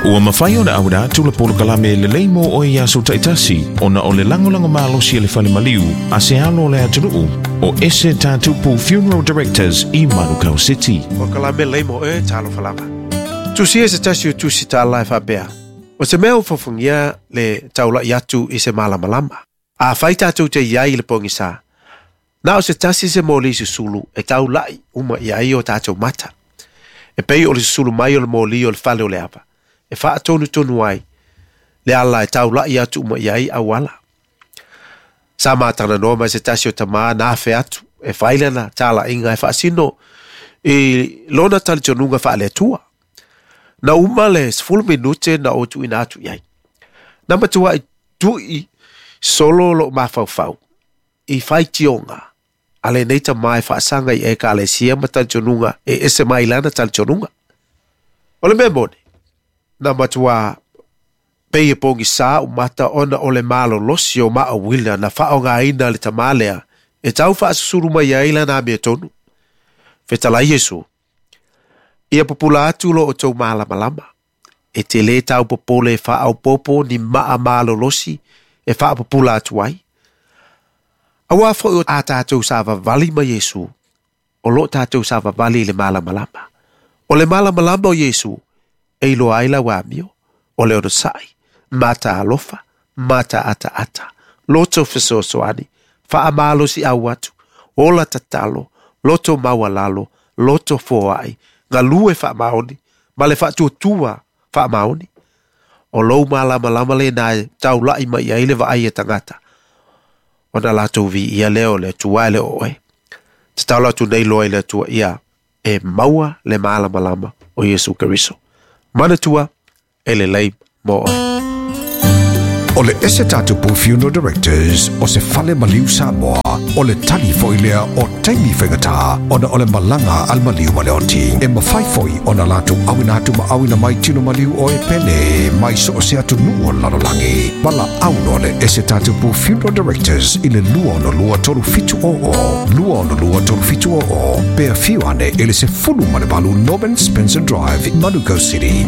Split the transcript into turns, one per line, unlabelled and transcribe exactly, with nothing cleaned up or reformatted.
Ua mafai ona auina atu le polokalame lelei mo oe i aso taitasi ona o le lagolago malosi e le fale maliu a se alo o le atunuu o Ese Tatupu Funeral Directors i Manukau City.
Polokalame lelei mo oe talofa lava. Tusia e se tasi o tusi tālā e faapea. O se mea ua fofogia le taula'i atu i se malamalama. Afai tatou te i ai i le pogisā, na o se tasi se moli susulu e taula'i uma i ai o tatou mata. E pei o le susulu mai o le moli o le fale o le ava. E faatonutonu ai le ala e taula'i atu uma i ai auala. Sa matalanoa ma se tasi o tamā na afe atu e fai lana talaiga e faasino i lona talitonuga faale-Atua. Na uma le sefulu minute na ou tuuina atu i ai. Na matuai tui solo lou mafaufau i faitioga a lenei tamā e faasaga i ekalesia ma talitonuga e ese mai lana talitonuga. O le mea moni, na matuā pei e pogisā ou mata ona o le malolosi o maauila na faaaogaina e le tamā lea e tau faasusulu mai ai lana amiotonu. Fetalai Iesu, ia pupula atu lo outou malamalama. E te lē tau popole e faaopoopo ni maa malolosi e faapupula atu ai. Auā foi a tatou savavali ma Iesu, o loo tatou savavali i le malamalama. O le malamalama o Iesu, e iloa ai lau amio, o le onosai, mataalofa, mataataata, loto fesoasoani, faamalosiau atu, ola tatalo, loto maualalo, loto foai, galue faamaoni, ma le faatuatua faamaoni. O lou malamalama lenā e taula'i mai ai le vaai a tagata. Ona latou viia lea o le Atua e le o oe. Tatalo atu nei loa i le Atua ia e maua le malamalama o Iesu Keriso. Manatua e lelei mo oe.
O le Ese Tatupu Funeral Directors o se fale maliu Samoa, o le tali foi lea o taimi faigata ona o le malaga a le maliu ma le oti. E mafai foi ona latou auina atu ma auina mai tino maliu o e pele mai so o se atunuu o le lalolagi. Valaau loa le Ese Tatupu Funeral Directors i le lua ono lua tolu fitu o o, lua ono lua tolu fitu o o, pe afio ane i le sefulu ma le valu Norman Spencer Drive, Manukau City.